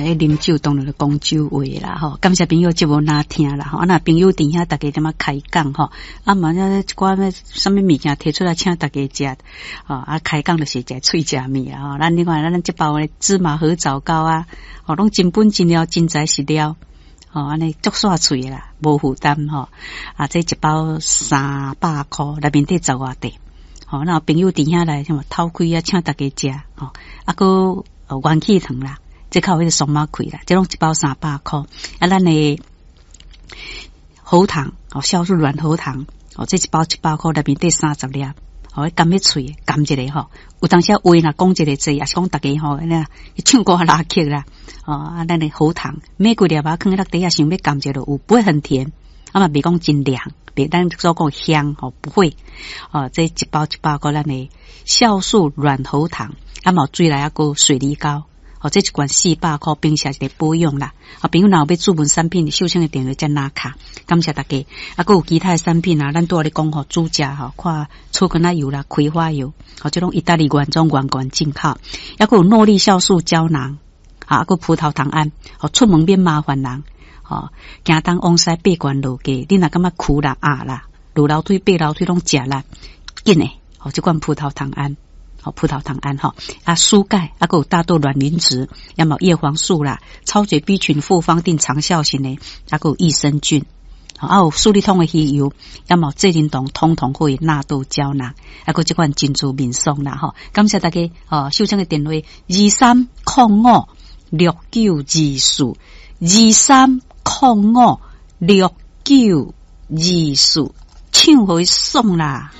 啉酒當然就講酒話啦，吼。感謝朋友節目若聽啦，吼。啊，若朋友佇遐，大家踮仔開講吼。啊，嘛，一寡咩啥物物件提出來請大家食，吼。啊，開講就是食喙食物啦，吼。咱你看，咱這包的芝麻核棗糕啊，吼，攏真本真料，真材實料，吼，按呢足煞喙啦，無負擔吼。啊，這一包300箍，內面底十外塊。吼，若朋友佇遐來，什麼偷開啊，請大家食，吼。啊，閣元氣糖啦。這較有彼個鬆仔開啦，這攏一包300箍。啊，咱的喉糖哦，酵素軟喉糖哦，這一包700箍，內面底30粒，哦，含咧喙，含一个吼。有當時話若講一个濟，抑是講逐家吼，那唱歌拉曲啦，哦，啊，咱的喉糖每幾粒仔囥佇落底下，想欲含一个有，不會很甜，啊嘛袂講真涼，袂咱所講香吼，不會。哦，這一包700箍，咱的酵素軟喉糖，啊嘛水來抑閣水梨膏。哦，這一罐400箍，平時一個保養啦。啊，朋友若有欲注文產品，秀清的電話才拿卡。感謝大家。啊，閣有其他的產品啊，咱拄仔咧講吼，煮食吼，看草根仔油啦、葵花油，哦，這攏意大利原裝原罐進口。抑閣有諾麗酵素膠囊，啊，閣葡萄糖胺，哦，出門免麻煩人，吼，行東往西爬懸落低，你若感覺跍啦、壓啦、落樓梯爬樓梯攏食力，緊的，哦，這款葡萄糖胺。好，葡萄糖胺吼，啊，舒鈣，啊，閣有大豆卵磷脂，抑嘛葉黃素啦，超級 B 群複方錠長效型的，啊，閣有益生菌，啊，有舒利通的魚油，抑嘛濟仁糖通通可以納豆膠囊，啊，閣這款珍珠面霜啦，吼，感謝大家，哦，秀清的電話23056924，23056924，唱予伊爽啦。